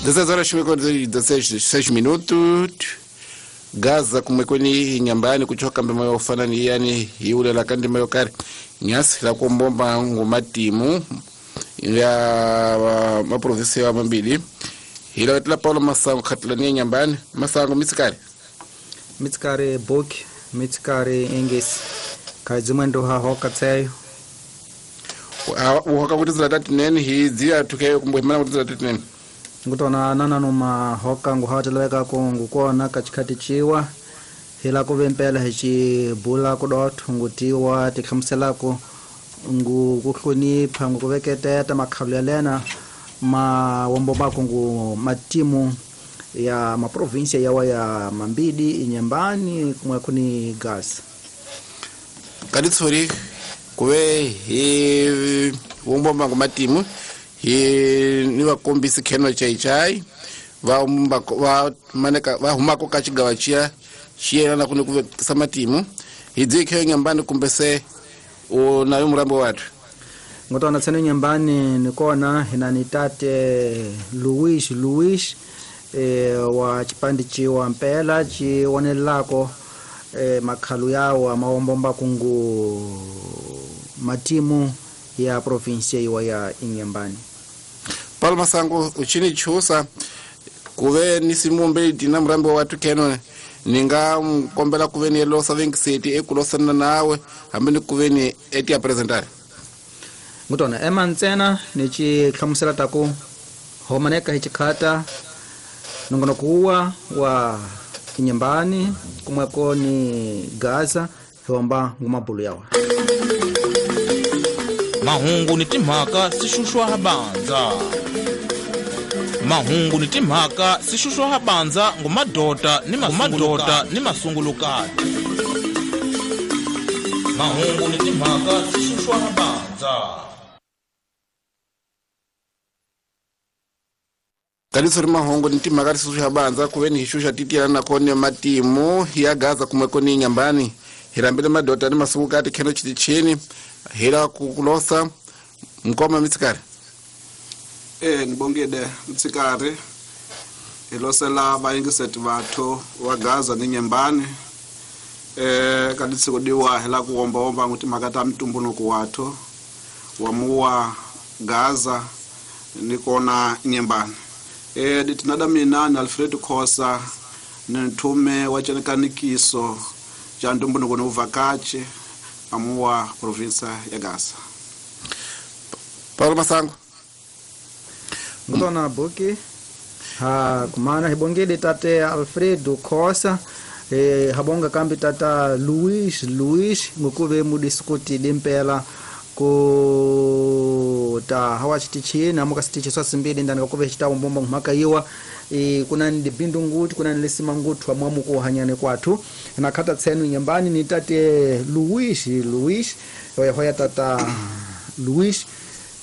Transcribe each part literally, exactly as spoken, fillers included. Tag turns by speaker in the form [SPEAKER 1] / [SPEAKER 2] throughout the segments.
[SPEAKER 1] dezesseis horas e dezesseis minutos. Gaza kumwekweni Inhambane kuchoka mbema yofanani yani yule la kandi mayokari nyasi la kumbomba ngumatimu ya maprovinsi ya mambili ila wetla Paulo Masango khatlani Inhambane Masango mitsikari
[SPEAKER 2] mitsikari boki mitsikari engesi kaidzimwendo ha hoka tseyo
[SPEAKER 1] uhoka kuti zila nene hidzi atukeyo kumbwemana kuti zila nene
[SPEAKER 2] ngutona nana noma hoka nguhateleka ko ngukona kachikati chiwa hila kuvempela hichi bula kudotho ngutiwa tikhamuselako ngu kuhlonipha ngukuveketeta makhalelena ma wombobako ngu matimu ya maprovinsia yawa ya Mambidi Inhambane kumwe kuni Gaza
[SPEAKER 1] kaditsori kuve hi wombomba ngu matimu hi ni vakombisi kheno chaichai va va maneka va humako ka xigawa xiya xi yelana ku ni ku vekisa matimu hi dzi khe Inhambane kumbe se u nayo murambo wathu
[SPEAKER 2] ngotona tsene Inhambane ni kona hina ni tate Luis Luis e wa chipandi chiwa mpela chi wonelako e makhalu yawo amawombomba kungu matimu ya provinsia iwa ya Inhambane.
[SPEAKER 1] Paulo Masango uchini chusa kuve ni simumbe dina murambo watu keno ninga mkombela kuve ni losa vengiseti ekulosana nawe hambe ni kuve ni eti ya presentare
[SPEAKER 2] ngutona ema ntsena ni chi hlamusela taku homaneka hichikhata nongonokuwa wa Inhambane kumweko ni Gaza hiwamba ngumabulu yawa
[SPEAKER 3] mahungu ni timhaka sixuxwa habanza mahungu ni timhaka sixuxwa habanza ngumadota ni mamadota ni masungulukati mahungu ni timhaka sixuxwa habanza
[SPEAKER 1] Kalisori mahungu ni timhaka sixuxwa habanza kuve ni hixuxa titiyana nakone matimu ya Gaza kumweko ni Inhambane hirambile madota ni masungulukati kheno chitichini hila kukulosa mkoma mitsikari
[SPEAKER 4] eh nibongede mitsikari hilosela vaingiseti vathu wa Gaza ni Inhambane eh kaditsikudiwa hila kuomba omba nguti makata mtumbunuku wathu wa muwa Gaza nikona Inhambane eh ditinada mina na Alfred Khosa ni nthume wa chenekanikiso cha ntumbunuku ni uvakachi amuwa provinsa ya Gaza.
[SPEAKER 1] Paulo Masango
[SPEAKER 2] ngutona buki ha kumana hibongele tate Alfredo Khosa eh habonga kambi tata Luis Luis ngukuve mudiskuti dimpela ku ta hawa chitichina muka sitichi swa simbili ndani kuve chitawo mbomba mhaka yiwa e kuna ndi bindu nguti kuna lisima ngutu amwamu ku hanyane kwathu na khata tsenu Inhambane ni tate Luis Luis hoya hoya tata Luis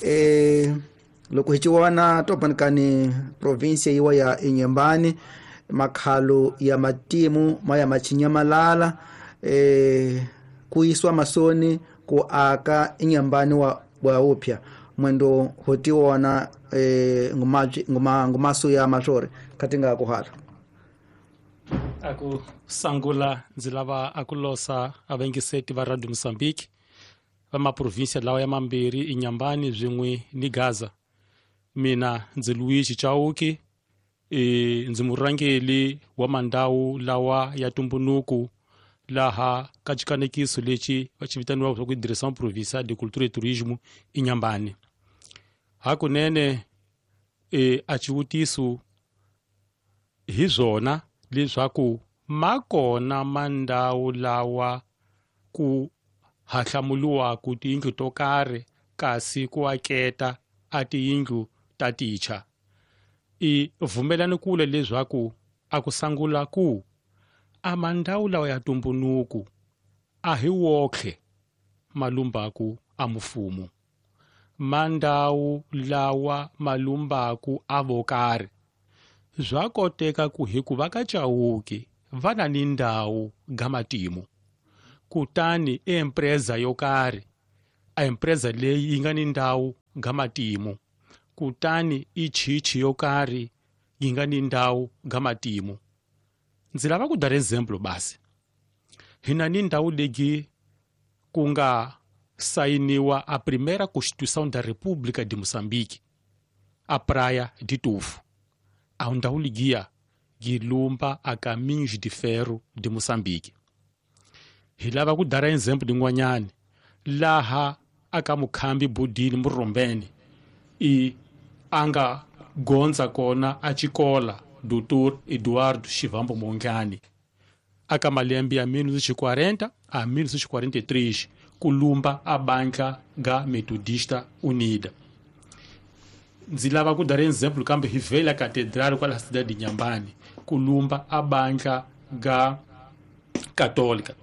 [SPEAKER 2] e loko hichiwana tobankani provinsia yiwa ya Inhambane makhalo ya matimu maya machinyamalala e kuiswa masoni ku aka Inhambane wa wa upya mwendo hotiwona eh ngumaji nguma ngumasu ya mashore katinga kuhala
[SPEAKER 5] aku sangula ndzi lava akulosa avengiseti va Radio Mozambique va maprovinsia lawa ya mambirhi Inhambane swin'we ni Gaza mina ndzi Luigi Chauki e ndzi murhangeri wa mandawu lawa ya tumbunuku laha ka xikanekiso lexi va xi vitaniwaka ku Direção Provincial de Cultura e Turismo Inhambane hakunene e a xivutiso hi swona leswaku ma kona mandawu lawa ku hahlamuliwaku tiyindlu to karhi kasi ku aketa a tiyindlu ta ticha i vumelani kule leswaku a ku sangula ku a mandawu lawa ya tumbunuku a hi wokhe malumbaku a mufumo mandawu lawa malumbaku a vokarhi swa koteka ku hikuva ka Chauke va na ni ndhawu ga matimu kutani empresa yo karhi a empresa leyi yi nga ni ndhawu ga matimu kutani i chichi yo karhi yi nga ni ndhawu ga matimu. Ndzi lava ku dara example basi. Hina ni ndhawu leyi ku nga sainiwa a primeira Constituição da República de Moçambique, a Praia de Tufo. A ndhawu ligiya yi lumba a Caminhos de Ferro de Moçambique. Hi lava ku dara example din'wanyani laha aka mukhambi Budini Murombeni i anga gondza kona a xikola Doutor Eduardo Chivambo Mondlane aka malembe ya mil novecentos e quarenta a mil novecentos e quarenta e três ku lumba a banca ga Metodista Unida. Ndzi lava ku dara example kambe hi vela catedral kwala cidade de Inhambane ku lumba a banca ga Católica.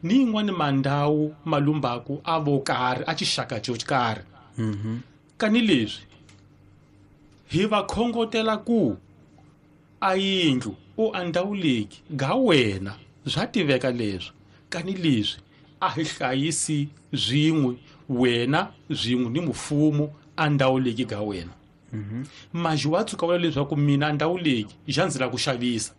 [SPEAKER 5] Ni yin'wani mandhawu malumbaku a vo karhi a xixaka xo karhi.
[SPEAKER 2] Mhm.
[SPEAKER 5] Kani leswi hi va khongotela ku a yindlu u a ndhawu leyi ga wena swa tiveka leswi kani leswi a hi hlayisi swin'we wena swin'we ni mfumo a ndhawu leyi ga wena.
[SPEAKER 2] Mhm.
[SPEAKER 5] Maji wa tshuka vula leswaku mina ndhawu leyi xa ndzi lava ku xavisa.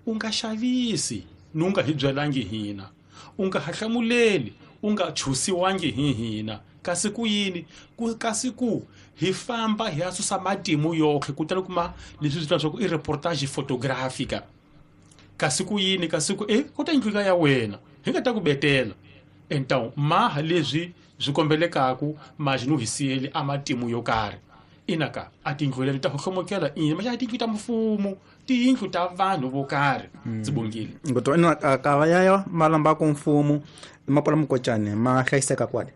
[SPEAKER 5] U nga xavisi ni u nga hi byelangi hina, u nga hahlamuleli, u nga chusiwangi hi hina. Kasi ku yini? Ku kasi ku hi famba hi ya susa matimu yoxe kutani kuma leswi swi leswaku i reportage photographica. Kasi ku yini? Kasi ku eh ku ta yindlu ya wena hi nga ta ku betela. Então maha leswi swi kombelekaku maji no hi siyeli a matimu yo karhi. Inaka a tindlu leti ta hlomokela ina maxa a tindlu ta mfumo tiyindlu ta vanhu vo karhi. Ndzi bongile
[SPEAKER 2] ngoto ina ka ya malamba ku mfumo mapola mukocane ma hlayiseka kwale.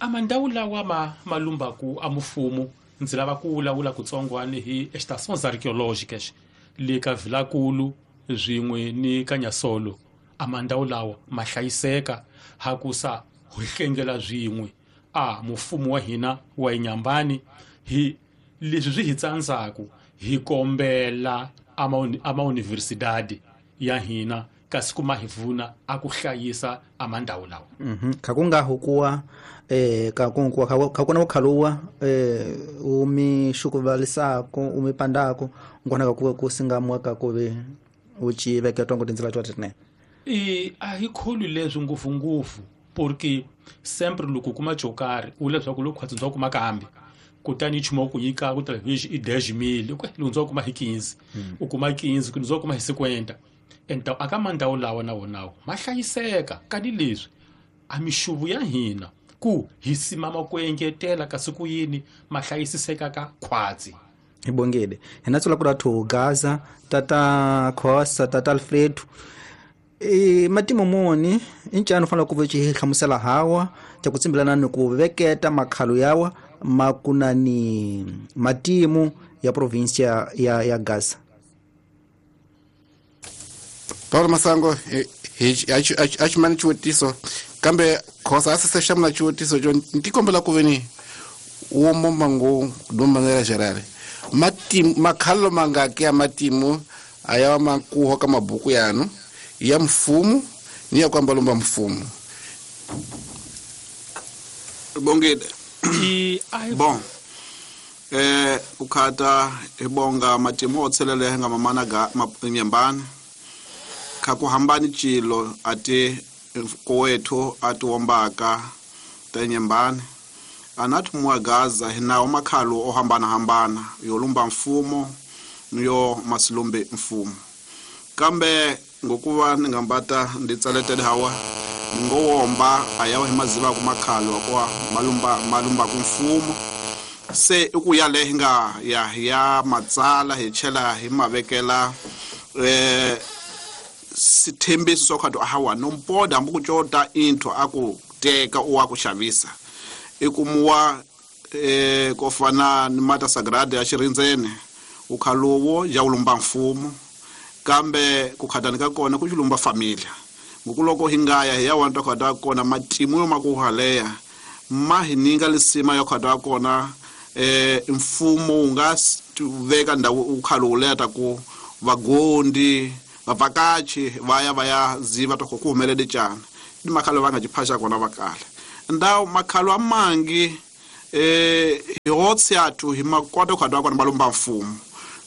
[SPEAKER 5] A mandhawu lawa ma malumbaku a mfumo ndzi lava ku vulavula kutsongwani hi estações arqueológicas le ka Vilakulu swin'we ni ka Nyasolo. A mandhawu lawa ma hlayiseka hakusa hi hlengela swin'we a mfumo wa hina wa Inhambane hi leswi swi hi tsandzaku hi kombela ama universidade ya hina kasi kuma hi pfuna a ku hlayisa a mandhawu lawa.
[SPEAKER 2] Mhm. Kha ku nga hukuwa eh ka ku ku ka kuna ukhaluwa eh umi shukuvalisako umi pandako ngona ka ku singamwa ka ku ve uchi veketwa ngo tindzela twa tine.
[SPEAKER 5] I a hi kholi leswi ngopfu ngopfu porque sempre loko kuma xo karhi u leswaku loko khwatsi ndza kuma kambe kutani nchumu ku nyika ku television i dez mil loko ndza kuma hi quinze u kuma quinze ku ndza kuma hi cinquenta. Então aka mandhawu lawa na wonawo ma hlayiseka kani leswi a mixuvu ya hina ku hi simama ku engetela kasi ku yini ma hlayisiseka ka khwatsi.
[SPEAKER 2] Hi bongile hina tsula ku rathu Gaza tata Khosa tata Alfredo e matimo moni incano fanele ku ve hlamusela hawa ta ku tsimbilana ni ku veketa makhalo yawa makunani matimu ya provincia ya ya Gaza.
[SPEAKER 1] Paulo Masango a ximani xivutiso kambe Khosa a se hlamula xivutiso xo ndzi kombela ku veni wo momba ngo de maneira geral matimu makhalo mangaki ya matimu a ya makuho ka mabuku yanu ya mfumo ni ya kwamba lomba mfumo.
[SPEAKER 4] Bongile.
[SPEAKER 5] I
[SPEAKER 4] bon eh ukhata ibonga matimu otselele nga mamana ga Inhambane kha ku hambani chilo ati kowethu ati wombaka ta Inhambane anathi mwa Gaza hinawo makhalo ohambana hambana yolumba mfumo niyo masilumbe mfumo kambe ngokuva ningambata nditsaletele hawa ngowomba ayawa hi maziva ku makhalo kwa malumba malumba ku mfumo se ukuya le nga ya ya matsala hi chela hi mavekela eh sithembiso swa khatu ahawa nompoda hambi ku cota intho aku teka u wa ku xavisa ikumuwa eh ko fana ni mata sagrada ya xirindzene ukhalowo ya ulumba mfumo kambe ku khatani ka kona ku xilumba familia ngokuloko hi nga ya hi ya wanta khata kona matimu yo makuhaleya ma hi ninga lisima ya khata kona eh mfumo wu nga veka ndhawu ukhalo leta ku vagondi vavhakachi va ya va ya ziva ta ku humelele cana ni makhalo va nga jiphasha kona vakala ndawu makhalo amangi eh hi hotsi yathu hi makota khata kona malumba mfumo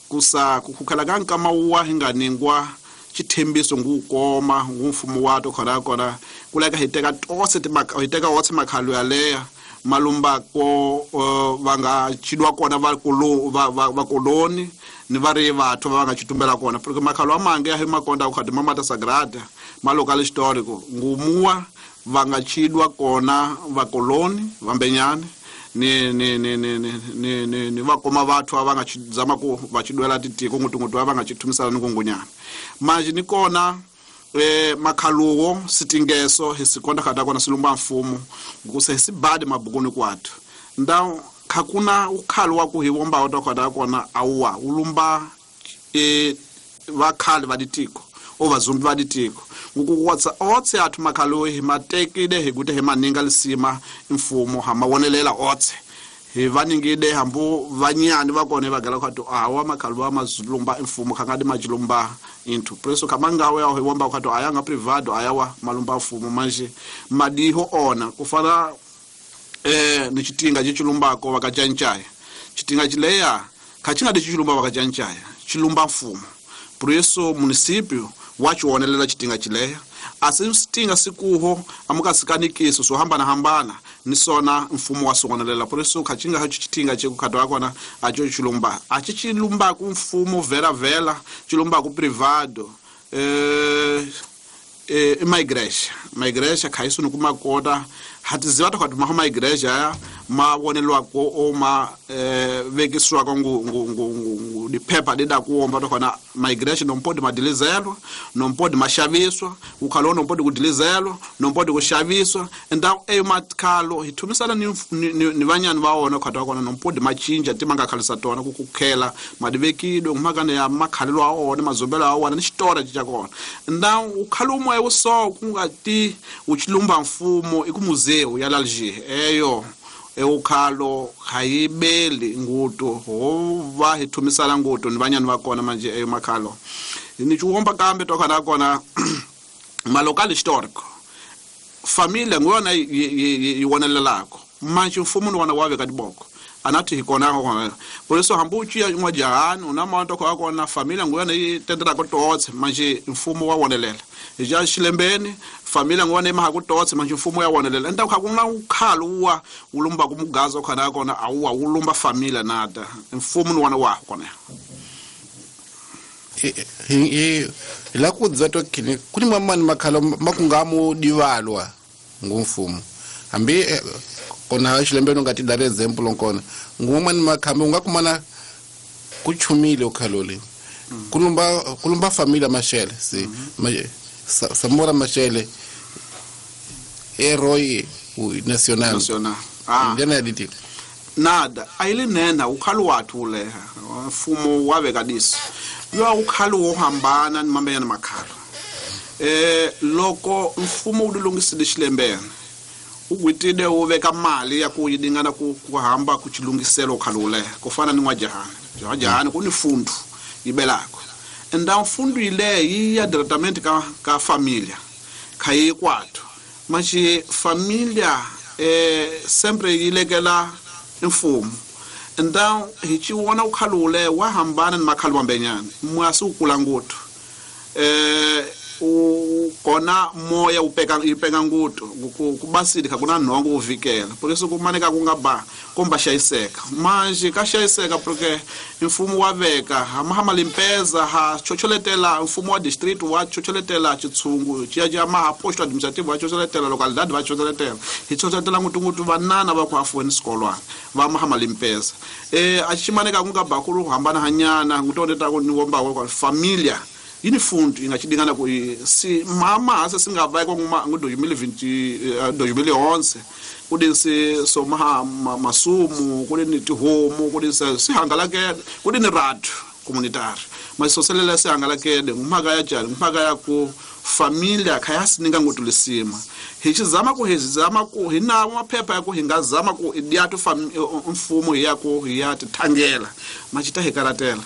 [SPEAKER 4] Kusa ku khukhala ka nkama wa hi nga ningwa xithembiso ngu koma ngu mfumo wa to khona kona ku leka hi teka tose hi teka wotse makhalo yaleya malumba ko va nga chidwa kona va kolo va va koloni ni va ri vathu va nga chitumbela kona porque makhalo a mange ya hi makonda ku khadi mamata sagrada ma local histórico ngumuwa va nga chidwa kona va koloni vambenyane ni ni ni ni ni ni ni va koma vathu va nga chizama ku va chidwela titiko ngutungutu va nga chithumisana ni kungunyana manje ni kona eh makhaluwo sitingeso hi sikonda khata kona silumba mfumo nguse sibadi mabukuni kwathu ndaw khakuna ukhalo wa ku hi vomba wa khata kona awwa ulumba e vakhali va ditiko o vazumbi va ditiko ngukuwatsa otse athu makhalo hi matekile hi kute hi maninga lisima mfumo ha mawonelela otse hi vaningide hambu vanyani va kona va gala khato awa makhalo wa mazulumba mfumo khangadi majilumba into preso kamangawe ya hi womba khato ayanga privado ayawa malumba mfumo manje madiho ona kufana eh ni chitinga chichilumbako vakajanchaya chitinga chileya khachinga dichilumba vakajanchaya chilumba mfumo preso municipio wachionelela chitinga chileya asitinga sikuho amukasikanikisa so hambana hambana ni sona mfumo wa sonelela preso khachinga ha chitinga chekukhatwa kona acho chilumba achi chilumba ku mfumo vera vela chilumba ku privado eh eh migration migration khaiso ni kumakota hatiziva ta khatu ma migration ya ma wonelwa ko o ma eh vekiswa ko ngu ngu ngu diphepha dida kuomba to khona migration nompodi madilizelwa nompodi mashaviswa ukhalo nompodi kudilizelwa nompodi kushaviswa ndaw e makhalo hithumisana ni ni vanyani va wona khatu kona nompodi machinja timanga khalisa tona ku kukhela madivekidwe ngumakane ya makhalelo a wona mazombelo a wona ni xitora xa kona ndaw ukhalo moya wo so kungati uchilumba mfumo ikumuzeu ya Alger eyo eukhalo hayibeli nguto ho va hi thumisana nguto ni vanyani va kona manje eyo makhalo ni chuomba kambe to khana kona malokal histórico familia ngona yi wonelelako manje mfumo ni wona wa veka diboko anathi hikona kona por eso hambuchi ya n'wajahani una manto kwa kona familia ngona yi tendela ko totse manje mfumo wa wonelela ja xilembeni familia ngona emaha ku totse manje mfumo ya wonelela enda kha kuna ukhalo wa ulumba kumugazo khana kona awuwa ulumba familia nada mfumo ni wona wa kona
[SPEAKER 1] hi la ku dzato kini kuni mamani makhalo makungamu divalwa ngumfumo hambi kona xilembeni nga ti dare example nkona ngumani makhambi unga kumana kuchumile ukhalole kulumba kulumba familia mashele si Samora Mashele héroe national
[SPEAKER 4] national ah
[SPEAKER 1] ndena diti
[SPEAKER 4] nada ayilinena ukhalo wathu leha mfumo wabe kadisi yo ukhalo wohambana ni mambenyana makhalo eh loko mfumo wu lulungisile xilembeni ugwitile wu veka mali ya ku yidingana ku kuhamba ku chilungiselo ukhalo leha kufana ni n'wajahani n'wajahani ku ni fundu yibelako enda fundu ile yi ya diretamente ka ka familia khayi kwathu manje familia eh sempre yilekela mfumo enda hi chiwona ukhalule wa hambana ni makhalo mambenyana mwasi ukula nguthu eh u kona moya upeka ipeka nguto kubasili kuna nhongo uvikela por isso kumaneka kungaba komba xayiseka manje ka xayiseka porque mfumo wa veka hama limpeza ha chocholetela mfumo wa district wa chocholetela chitsungu chiya ja maha posto administrative wa chocholetela localidade wa chocholetela hi chocholetela ngutungutu vanana va ku afuweni swikolwana va mahama limpeza eh a ximaneka kungaba ku hambana hanyana ngutondeta ku ni womba kwa familia yini fundu ingachidingana ku si mama ase singava kwa nguma ngo dois mil e vinte dois mil e onze kudi si somaha masumu kudi ni tihomu kudi sihangalakele kudi ni radio communitaire masoselela sihangalakele ngumhaka ya jali ngumhaka ya ku familia khayasininga ngotulisima hi xizama ku hi zama ku hi nawo maphepha ya ku hi nga zama ku idiatu mfumo hi ya ku hi ya tithangela machita hi karatela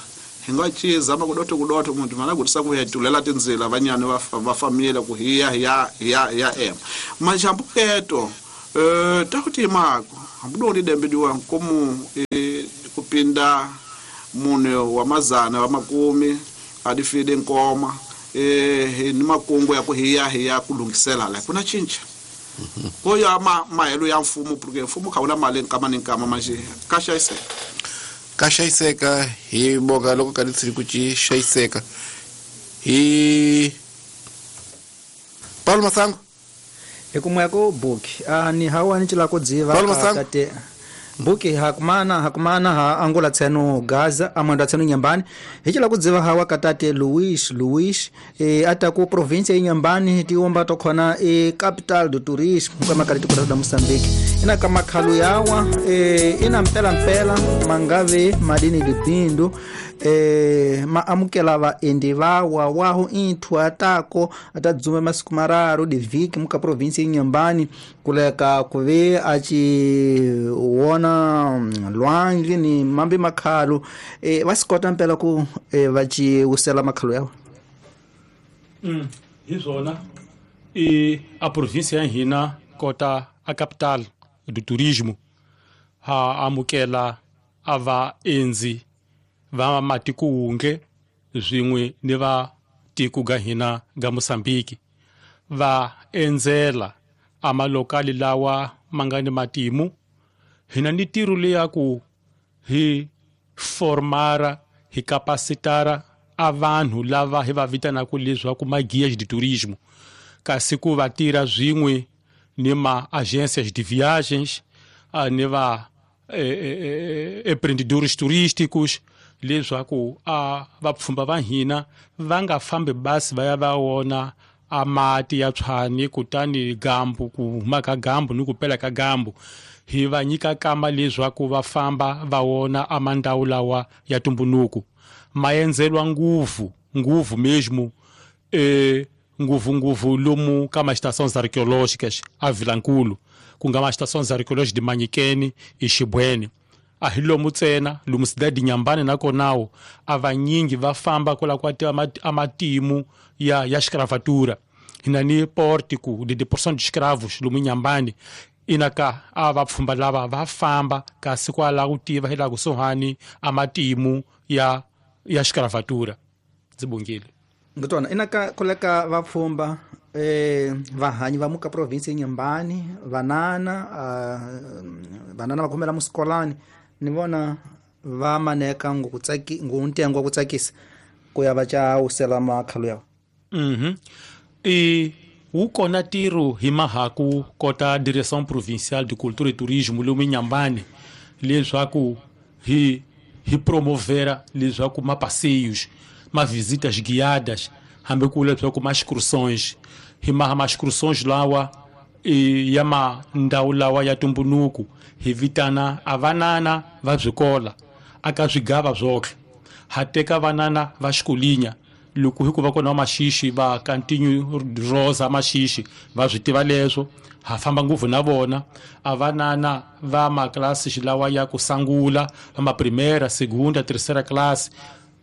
[SPEAKER 4] hi nga chizama kudoto kudoto muntu mana kutisa ku hetulela tindzila vanyani va va familia ku hiya hiya hiya hiya em majambuketo eh takuti mako hambudo dembe diwa komu e, kupinda mune wa mazana wa makumi a di fide nkoma eh ni makungu ya ku hiya hiya ku lunghisela la kuna cinca ko ya ma mahelo ya mfumo porque mfumo kha wuna mali nkama ni nkama manje ka xayiseka
[SPEAKER 1] ka xayiseka hi boka loko ka litsiri ku ci xayiseka hi Paulo Masango
[SPEAKER 2] hi kumwe ko buki a ni hawa ni cila ku dziva tate buki hakumana hakumana ha Angola tseno Gaza amanda tseno Nyambani hi cila ku dziva hawa katate Luis Luis e ata ku province ya Nyambani tiomba to khona e capital do tourisme kama kali tikota da Mozambique ina kama khalu yawa e ina mpela mpela mangave madini dibindu e ma amukela va endi vawa waho inthu atako atadzume masiku mararu divhiki muka province ya Nyambani kuleka kuve achi wona lwandle ni mambi makhalu e va sikota mpela ku e, va ci usela makhalu yawo
[SPEAKER 5] mm hi swona e a province ya hina kota a capital do turismo ha amukela a va endzi va matiko wunge swin'we ni va tiko ga hina ga Mozambique va endzela a malokali lawa ma nga ni matimu hina ni tiro leya ku hi formara hi capacitara a vanhu lava hi va vitanaka leswaku ma guias de turismo kasi ku va tirha swin'we ni ma agências de viagens ni va empreendedores turísticos leswaku a vapfhumba va hina va nga fambi basi va ya va wona a mati ya tshwani kutani gambu ku huma ka gambu ni ku pela ka gambu hi va nyika kama leswaku va famba va wona a mandawu lawa ya tumbunuku ma endzelwa nguvu nguvu mesmo e nguvu nguvu lomu ka ma estações arqueológicas a Vilankulu ku nga ma estações arqueológicas de Manyikeni e Xibweni a hi lomu ntsena lomu cidade Nyambani nakonawo a vanyingi va famba kwala kwa a matimu ya ya escravatura hina ni pórtico de deportação de escravos lomu Nyambani inaka a vapfhumba lava va famba kasi kwala ku tiva hi la kusuhani a matimu ya ya escravatura ndzi bongile
[SPEAKER 2] ngitwana inaka koleka vapfhumba eh vahanyi va muka province ya Nyambani vanana uh, vanana va khomela musikolani ni vona va maneka ngokutsaki ngontengo wa ku tsakisa ku ya va ca usela makhalu yawo
[SPEAKER 5] mhm e wu kona tiro hi mahaku kota Direção Provincial de Cultura e Turismo lomu Nyambani leswaku hi hi promovera leswaku ma passeios ma visitas guiadas hambi ku leswaku ma excursões hi maha ma excursões lawa e ya ma ndhawu lawa ya tumbunuku hi vitana a vanana va byikola aka swigava swotlhe ha teka vanana va xikolinya loko hi ku va kona va maxixi va continue rosa maxixi va swi tiva leswo ha famba ngopfu na vona a vanana va maklasi lawa ya ku sangula va ma primeira segunda terceira classe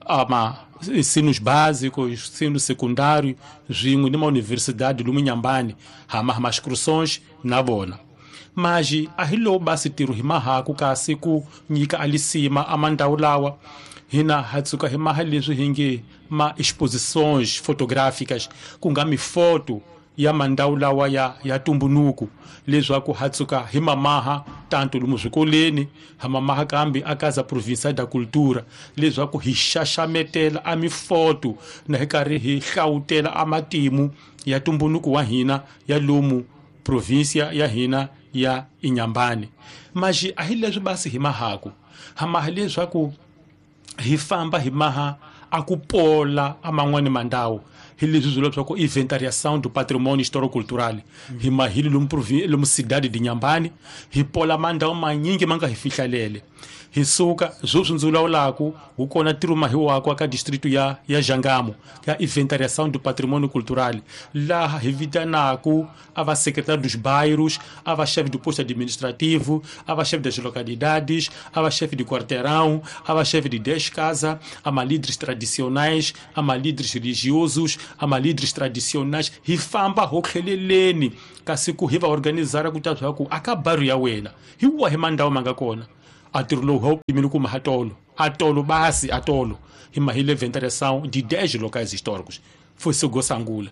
[SPEAKER 5] ama ensinos básicos ensino secundário swin'we ni ma universidade lomu Nyambani ha ma ma excursões na vona mas a hi lowu basi tiro hi mahaku kasi ku nyika alisima a mandawu lawa hina ha tsuka hi maha leswi hi nge ma exposições fotográficas ku nga mifoto ya mandawu lawa ya ya tumbunuku leswaku ha tsuka hi mamaha tanto lomu swikoleni ha mamaha kambe a Casa Provincial da Cultura leswaku hi xaxametela a mifoto na hi karhi hi hlawutela a matimu ya tumbunuku wa hina ya lomu província ya hina ya Inhambane. Mas a hi leswi basi hi mahaku ha maha leswaku hi famba hi maha a ku pola a man'wani mandawu hi leswi swi leswaku inventariação do patrimônio histórico-cultural hi mahili lomu lomu cidade de Inhambane hi pola mandawu manyingi ma nga hi fihlalele hi suka sweswi ndzi vulavulaku wu kona ntirho mahiwako aka distrito ya ya Jangamo ya inventariação do patrimônio cultural laha hi vitanaku a va secretário dos bairros a va chefe do posto administrativo a va chefe das localidades a va chefe de quarteirão a va chefe de dez casa a ma líderes tradicionais a ma líderes religiosos a ma líderes tradicionais hi famba ho tlheleleni kasi ku hi va organizara ku ta swa ku aka bairro ya wena hi wahi mandawu ma nga kona A ntirho lowu hi wu pimile ku mahatolo atolo basi atolo hi mahile inventariação de dez locais históricos foi sangula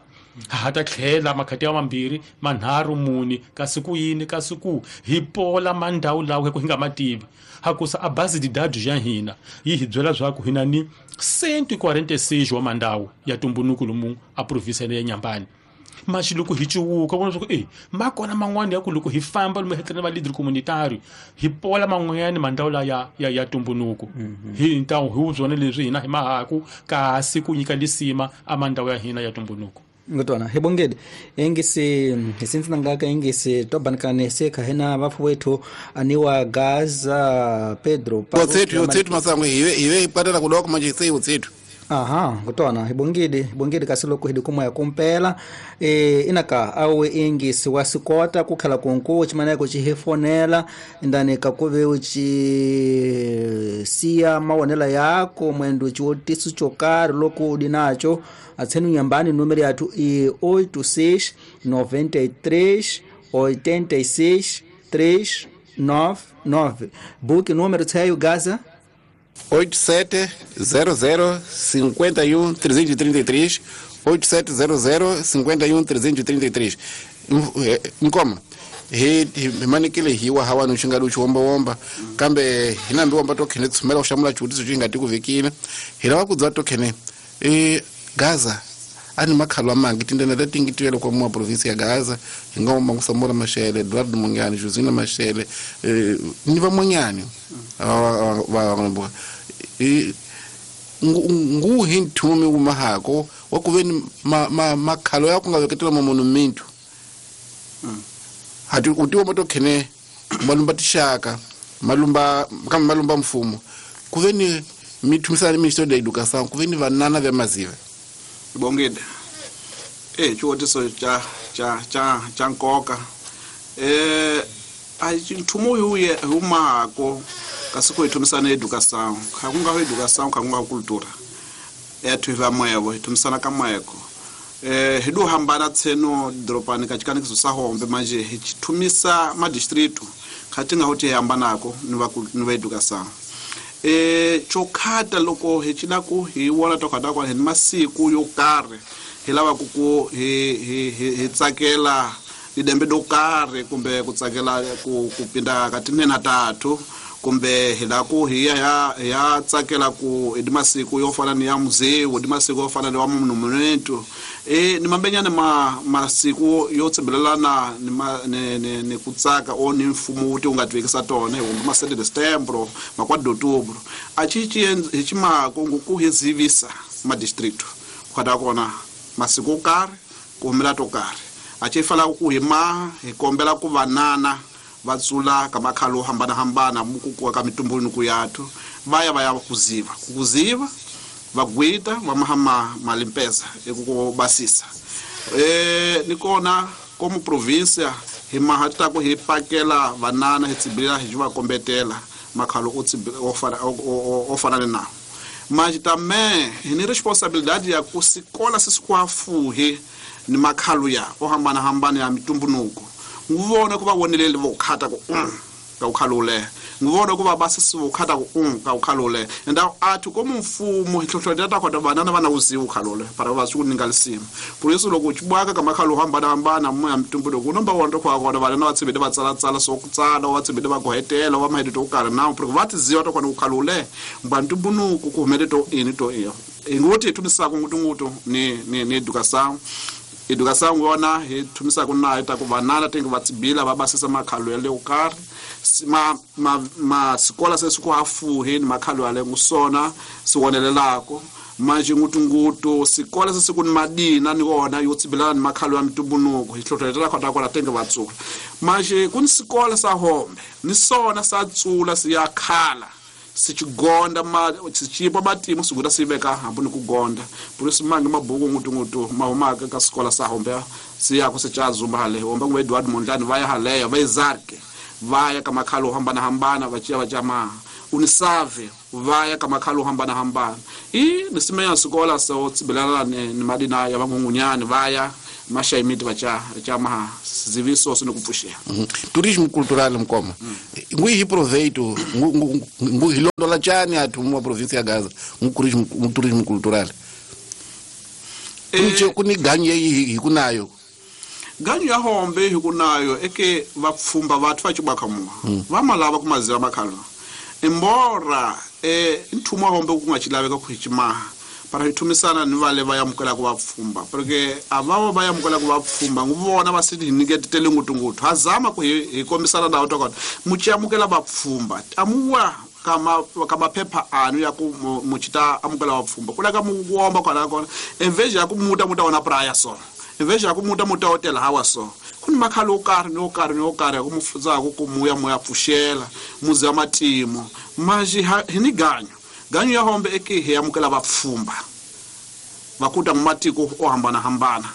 [SPEAKER 5] ha ta tlhela makhati ya mambirhi manharhu mune kasi ku yini kasi ku hi pola mandhawu lawa hi nga mativi hakusa a base de dados ya hina yi hi byela swa ku hina ni cento e quarenta e seis wa mandhawu ya tumbunuku lomu a província ya Nyambani mas loko hi ciwuka vona swa ku eh ma kona man'wana ya ku loko hi famba lomu hi tlhela va leader communitario hi pola man'wanyana mandhawu la ya ya ya tumbunuku hi ntawu hi byona leswi hina hi mahaku kasi ku nyika lisima a mandhawu ya hina ya tumbunuku
[SPEAKER 2] ngotwana hebongedi engisi hisinzi ngaka engisi tobankane seka hena vafu wetu aniwa Gaza Pedro
[SPEAKER 1] Otsetu otsetu masango hiwe hiwe ipatela kudoko manje sei otsetu
[SPEAKER 2] aha ngotwana hebongedi hebongedi kasiloko hidikumwa ya kumpela e inaka awe engisi wasikota kukhala konko chimaneko chihefonela ndani kakuve uchi siya mawonela yako mwendo chiotisu chokari loko udinacho atsenu nyambani numero yathu i oito seis noventa e três oitenta e seis três nove nove book número tseyo Gaza
[SPEAKER 1] oito sete zero zero cinquenta e um trezentos e trinta e três oito sete zero zero cinquenta e um trezentos e trinta e três nkoma hi manikile hiwa hawa nuxinga luxi womba womba kambe hina mbi womba tokhene tsumela ku hlamula xivutiso xi nga ti ku vekile hi lava ku bya tokhene e Gaza ani makhalo amangi tindlela leti ngi tivela kwa mwa province ya Gaza hi nga womba Samora Machel Eduardo Mondlane Josina Machel ni van'wanyani va va ngu hi nthumi wu mahako wa ku veni makhalo ya ku nga veketela mamonumento hati u tiwa matokhene malumba tixaka malumba kambe malumba mfumo ku veni mi thumisana Ministério da Educação ku veni vanana vya maziva
[SPEAKER 4] bongile eh xivutiso xa xa xa xa nkoka eh a nchumu wu ye humako kasi ku hi thumisana educação kha ku nga ho educação kha ku nga cultura ethu hi va moyevo hi thumisana ka moyeko eh hi do hambana tseno dropani ka chikanikiso sa hombe manje hi thumisa ma distrito kha ti nga ho ti hambanako ni va ni va educação eh chokhata loko hi cina ku hi wona to khata kwa hi masiku yo karhi hi lava ku ku hi hi hi tsakela lidembe do karhi kumbe ku tsakela ku ku pinda ka tinene tathu kumbe hi la ku hi ya ya tsakela ku hi masiku yo fana ni ya muzeu hi masiku yo fana ni wa monumento eh ni mambenyana ma masiku yo tsembelelana ni ni ni, ni ku tsaka o ni mfumo wu ti nga tivekisa tona hi ma sete de setembro ma quatro de outubro a chi chi hi chimako ku hi zivisa ma distrito ku kona masiku yo karhi ku humela to karhi a chi fala ku hi ma hi kombela ku vanana va tsula ka makhalo hambana hambana muku ka mitumbuluko yathu va ya va ya kuziva kuziva va gwita va mahama malimpeza eku basisa eh ni kona como província hi mahata ku hi pakela vanana hi tsibila hi va kombetela makhalo o tsibila o fana o fana na manje também hi ni responsabilidade ya ku sikola sisikwafuje ni makhalo ya o hambana hambana ya mitumbuluko nguvona kuva wonelele vokhata ku ka ukhalule nguvona kuva basisi vokhata ku ka ukhalule and athu como mfumo hi hlohlotela ta kota vanana vana uziwa ukhalule para va swi ku ninga lisima por isso loko chibwaka ka makhalo hambana hambana mu ya mitumbuluko nomba wona to kwa kona vana va tsibile va tsala tsala so ku tsala va tsibile va gohetela va mahedi to karhi na porque va tiziwa to kona ukhalule mba ntumbunuko ku humele to ini to iyo ingoti thumisaka ngutungutu ni ni ni educação educação yona hi thumisaka na ta ku vanana tingi va tsibila va basisa makhalo ya le karhi ma ma ma sikola se siku hafuhi ni makhalo ya le ngusona siwonelelako manje ngutungutu sikola se siku ni madina ni wona yo tsibilana ni makhalo ya mitumbuluko hi hlohletela khota kona tingi va tsula manje ku ni sikola sa hombe ni sona sa tsula siya khala sichigonda ma sichipa matimu siguta siveka hambi ni ku gonda por isso mangi mabuku ngutungutu mahumaka ka sikola sa hombe siya ku sichazumba hale hombe ngwe Eduardo Mondlane va ya haleyo va izarke va ya ka makhalo hambana hambana va chiya va chama unisave va ya ka makhalo hambana hambana i ni simenya sikola so tsibelana ni madina ya vangungunyani va ya mashaimiti vacha cha maha ziviso sino kupfuxela.
[SPEAKER 1] Turismo cultural mkoma ngui hi proveito ngu hilondola chani athu mu província ya Gaza ngu turismo turismo cultural eh kuni ganyu hi kunayo
[SPEAKER 4] ganyu ya hombe hi kunayo eke vapfumba vathu va chibwakhamuwa va malava kumaziva makhalo embora eh nthumo hombe ku nga chilaveka ku hichimaha para hithumisana ni vale va yamukela ku vapfumba porque avavo va yamukela ku vapfumba nguvona va siti hiniketele ngutunguthu hazama ku hi kombisana nawo tokona muchiyamukela vapfumba amuwa kama kama phepha anu ya ku muchita amukela vapfumba kula ka muwomba kona kona enveja ya ku muta muta wona praya so enveja ya ku muta muta hotel hawa so kuni makhalo o karhi ni o karhi ni o karhi ku mufudzaku ku muya muya pfuxela muzi wa matimo maji hi ni ganyu ganyu ya hombe eke hi amukela vapfumba vakuta matiko o hambana hambana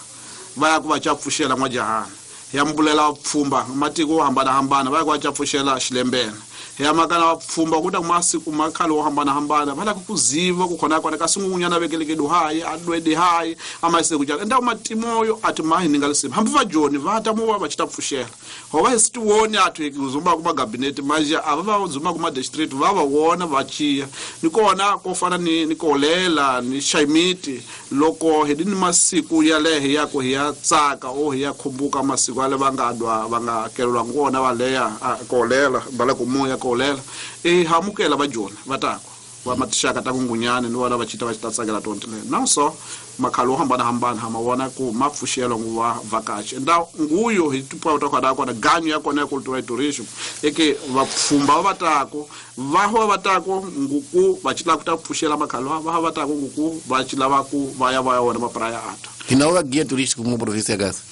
[SPEAKER 4] va ya ku va cha pfuxela n'wajahana hi ambulela vapfumba matiko o hambana hambana va ya ku va cha pfuxela xilembene hi amakana vapfumba kuta masiku makhalo o hambana hambana va lava ku ziva ku khona kona kasi ngungunyana vekelekedu hayi adwede hayi amayise ku jala endawo matimoyo ati mahi ninga lisima hambi va joni va ta muwa va chita pfuxela ho va hi sitiwoni athu hi zumba kuma cabinet manje ava va zumba kuma district va va wona va chiya ni kona ko fana ni ni kolela ni shaimiti loko hi ni masiku ya lehe ya ku hi ya tsaka o hi ya khumbuka masiku ale va nga dwa va nga kelelwa ngona va leya kolela va le ku moya kolela e hamukela va jona va tako va matixaka ta kungunyana ni vona va chita va chita tsakela tontile na so makhalo hambana hambana ha mawona ku mapfuxelo nguva vakachi nda nguyo hi tipa ta khona kona ganyu ya kona ya cultural tourism eke vapfumba va tako va ho va tako nguku va chila ku ta pfuxela makhalo va va tako nguku va chila va ku va ya va ya wona mapraya ata
[SPEAKER 1] hina va guia turístico mu província Gaza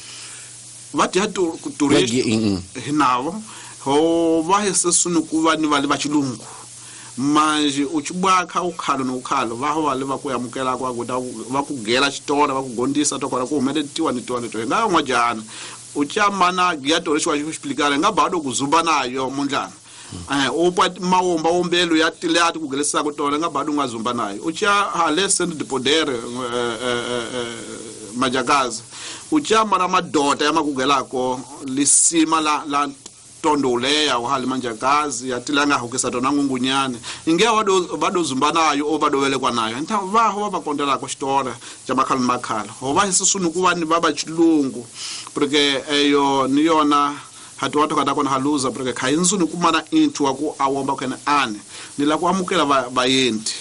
[SPEAKER 4] va dia turístico hinavo ho va hesesunu ku va ni va le va chilungu manje uchibwakha ukhalo nokhalo va ho va le va ku yamukela kwa ku va ku gela xitora va ku gondisa to kora ku humeletiwa ni tiwa ni to nga n'wajana uchamana guia turístico wa xiplikana nga bado ku zumba nayo mundlana eh upa mawomba wombelo ya tilati ku gelesa ku tona nga bado nga zumba nayo ucha hale send de poder majakazi uchamana madota ya makugelako lisima la la tondoleya uhali manjakazi atilanga hukisa tona ngungunyane inge wado bado zumba nayo o bado welekwa nayo nta vaho va kondela ko xitora xa makhalo makhalo ho va hisisunu ku va ni va va chilungu porque eyo ni yona hatu watu kada kona haluza porque khayinzu ni kumana inthu wa ku awomba kena ane ni la ku amukela vayendi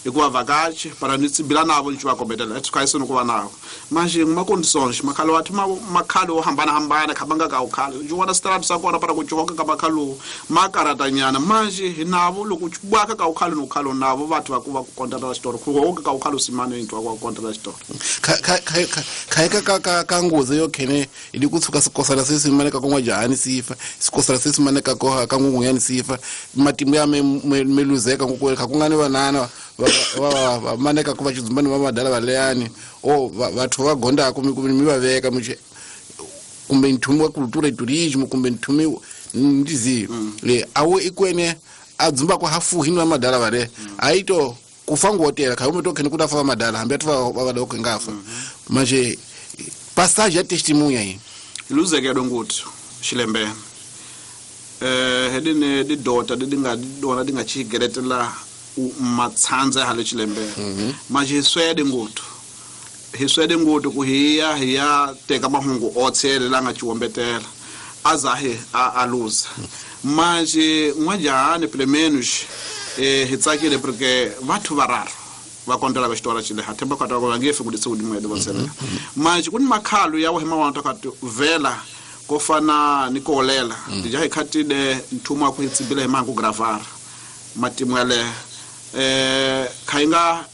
[SPEAKER 4] hikuva vakachi para ni tsibila navo ni va kombetela ethu khayisunu ku va navo manje nguma conditions makhalo wathu makhalo o hambana hambana khabanga ka ukhalo nje wona strap sa kona para ku joka ka makhalo makaratanyana manje hi navo loko bwaka ka ukhalo no ukhalo navo vathu va ku va ku kontela xitori ku hoka ka ukhalo simane into wa ku kontela xitori
[SPEAKER 1] kha kha kha ka ka ka ngozi yo khene ili ku tshuka sikosala se simane ka konwa jahani sifa sikosala se simane ka koha ka ngungunyani sifa matimu ya me meluzeka ku ka kungani vanana va va maneka ku va chizumbani va madala valeyani o vathu va gondako mi mi va veka mi kumbe nthumo wa cultura turismo kumbe nthumo ndizi le awo ikwene adzumba kwa hafu hino madala vale aito kufango hotela ka umeto kene kuda fa madala hambe atuva va doko ngafa manje passage ya testemunha yi
[SPEAKER 4] iluzekelo nguthi xilembe eh hedine di dota di nga dona di nga chigeretela matsanza hale xilembe manje swede nguthu hi swede nguthu ku hiya hiya teka mahungu otshele la nga chiwombetela azahe a aluza manje n'wajahani pelo menos eh hi tsakile porque vathu vararu va kontela ka xitora xile ha themba kwata va nge fi ku ditsi godimo ya dibotsela manje ku ni makhalo ya wena wa ta kati vela ko fana ni kolela dija hi khatile nthumo wa ku hitsibile hi mangu gravara matimu ya le eh khainga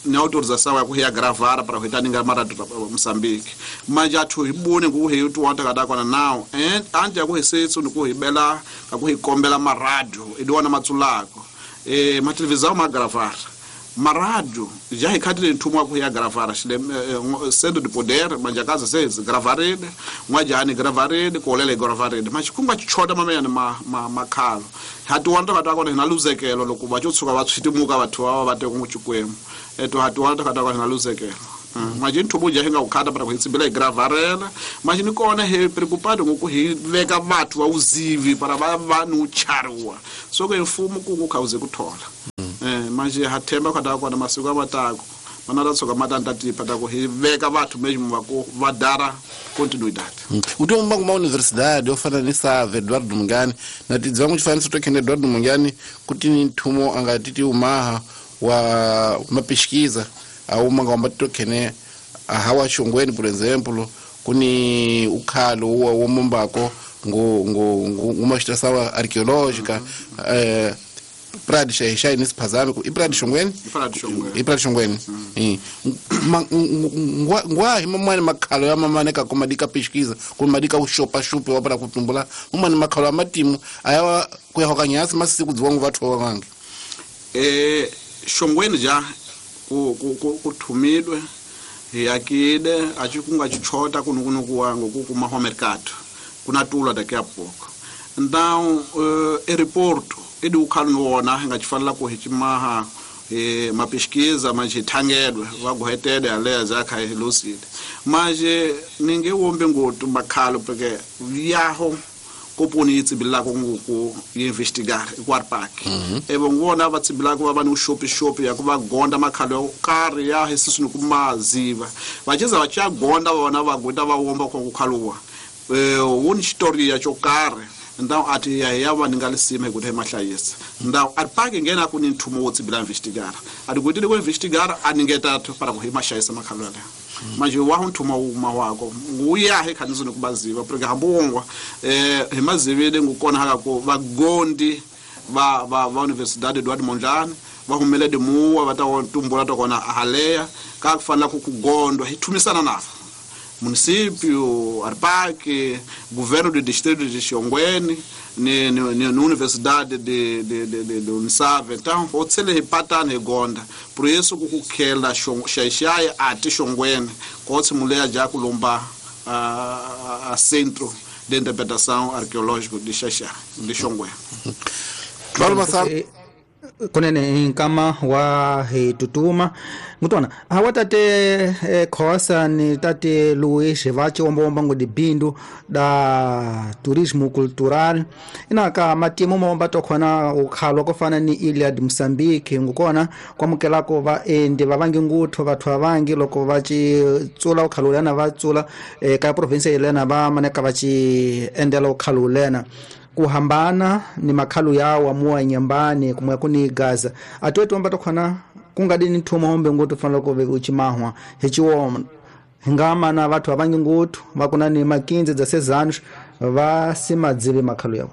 [SPEAKER 4] ni autorização ya ku ya gravara para ku itaninga mara Mozambique manje athu hi bone ku hi tu wanta kada kona now and ante ya ku hisetsu ni ku hi bela ka ku hi kombela maradio i diwana matsulako eh ma televisão ma gravara Maradio já ricadile nthumo wa ku ya gravara xile centro de poder manjakaza se gravarile n'wajani gravarile kolele gravarile ma xikunga xichota mameyani ma ma makhalo hatiwana ta kona hina luzekelo loko va tshuka va tshitimuka vathu va va teka n'wichikwemu eto hatiwana ta kona hina luzekelo manje nthumo ja hi nga ku khata para ku hi tsimbela hi gravarela manje ni kona hi preocupado ngoku hi veka vathu va uzivi para va va ni uchariwa so ke mfumo ku ku khawuze ku thola eh manje ha themba khata kona masiku amatako mana ta tshoka matanta tipa ta ku hi veka vathu mesmo va ku va dara continuidade
[SPEAKER 1] utomba kuma universidade ofana ni Save Eduardo Mungani na tidzangu chifaniso to kene Eduardo Mungani kuti ni nthumo angatiti umaha wa mapesquisa auma ngomba tokene hawa Shongweni por exemplo kuni ukhalo wa womumbako ngo ngo uma estação arqueológica eh Praia de Xaixai nesse phazame i Praia de Shongweni i Praia de Shongweni eh ngwa himamani makhalo ya mamane ka komadika pesquisa komadika ushopa shupe wa para kutumbula umani makhalo amatimu ayawa kuya hokanyasi masiku dziwangu vathu wange
[SPEAKER 4] eh Shongweni ja ku ku ku thumidwe yakide achikunga chichota kunukunuku wangu kukuma ho mercado kuna tula daqui a pouco então uh, aeroporto edi ukhalo wona ngachifanela ku hichimaha eh ma pesquisa manje thangedwe vaguhetede aleza akha lucid manje ninge wombe ngotu makhalo porque yaho koponi tsibilako ngoku investigar ikwarpark ebo ngona vatsibilako va va ni shopi shopi ya ku va gonda makhalo karhi ya hisisini kumaziva vachiza vachiya gonda vona va gwita va womba ku khaluwa eh woni story ya chokarhi então ati ya ya va ninga lisima hi ku mahlayisa ndaw arpark ngena ku ni nthumo wo tsibila investigar ati gwitile ku investigar aningeta para ku hi mahlayisa makhalo ya manje wa nthumo uma wako nguya he khanizini kubaziva porque hambongwa eh hi mazivile ngukona haka ku vagondi va va va Universidade Eduardo Mondlane va humele de muwa va ta tumbula to kona haleya ka kufanela ku kugondwa hi thumisana navo município Arpark governo do distrito de Xongweni ni ni ni universidade de de de de, de Unisave então otsele hipatana egonda por isso kukukhela Xaixai ati Xongweni kotsi muleya ja kulomba a, a centro de interpretação arqueológico de Xaixai de Xongweni.
[SPEAKER 2] Kunene nkama wa hi tutuma ngutona hawa tate Khosa ni tate Luis va chiwombomba ngo dibindu da turismo cultural inaka matimu momba tokhona ukhalo kofana ni Ilha de Moçambique ngukona kwamukelako va endi va vangi ngutho vathu avangi loko va ci tsula ukhalo lena va tsula e, ka province yelena va maneka va ci endela ukhalo lena kuhambana ni makhalu yawo amuwa nyambani kumwe kuni Gaza atwetu amba tokhona kungadini nthumo hombe ngutu fanela ku uchimahwa hichiwoma hingama na vathu avangi ngutu vakuna ni makinzi dza sezanos va simadzivi makhalu yawo.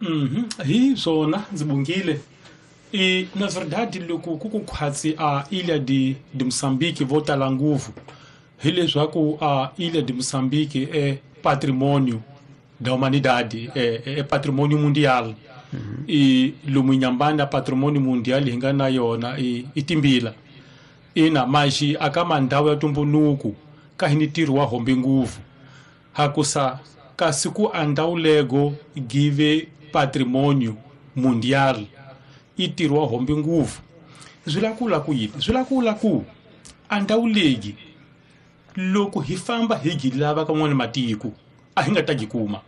[SPEAKER 5] Mhm hi swona ndzi bungile e na verdade loko ku ku khwatsi a Ilha de de Moçambique vo tala nguvu hileswaku a Ilha de Moçambique é patrimônio da humanidade, é, é patrimônio mundial. Uhum. E lomu Inhambane patrimônio mundial hinga na yona e, e timbila. Ina maji akamandau ya tumbunuku kahini wa hombe nguvu. Hakusa kasiku andau lego give patrimônio mundial itirwa hombe nguvu. Zwilakula ku yini? Zwilakula ku andau legi loko hi famba hi gilava ka n'wana matiko a hi nga ta gikuma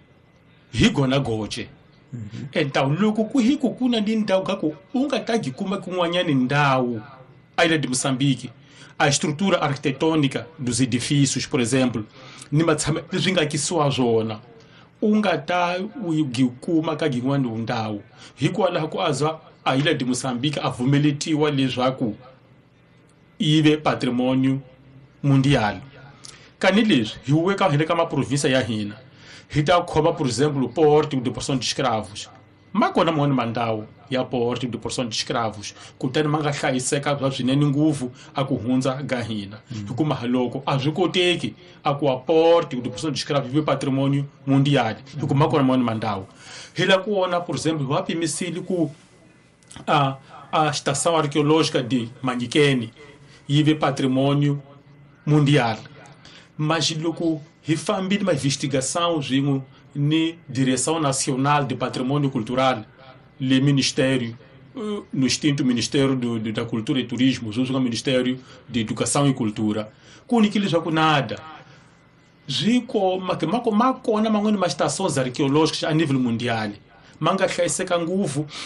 [SPEAKER 5] hi gona goce entawu loko ku hi ku kuna ni ndhawu ka ku u nga ta gikuma kun'wanyani ndhawu a Ilha de Moçambique a estrutura arquitetônica dos edifícios por exemplo ni matshama leswi nga kisiwa swona u nga ta u gikuma ka gin'wana ndhawu hikwalaho ku azwa a Ilha de Moçambique a vumeletiwa leswaku yi ve patrimônio mundial. Kani leswi hi weka hi le ka maprovinsia ya hina hi ta khoma por exemplo porto de porção de escravos ma kona man'wana mandawu ya porto de porção de escravos kutani ma nga hlayiseka bya swinene nguvu a ku hundza ga hina hikuma loko a swi koteki a ku a porto de porção de escravos vi patrimônio mundial hikuma kona man'wana mandawu hi la ku vona por exemplo va pimisile ku a a estação arqueológica de Manyikeni yi ve patrimônio mundial. Mas loko hi fambile ma investigação swin'we ni Direção Nacional de Patrimônio Cultural, le Ministério, no extinto Ministério do, do, da Cultura e Turismo, sweswi nga Ministério de Educação e Cultura, ku nikile leswaku nada swi koma ke ma ma kona man'wani ma estações arqueológicas a nível mundial ma nga hlayiseka ngopfu.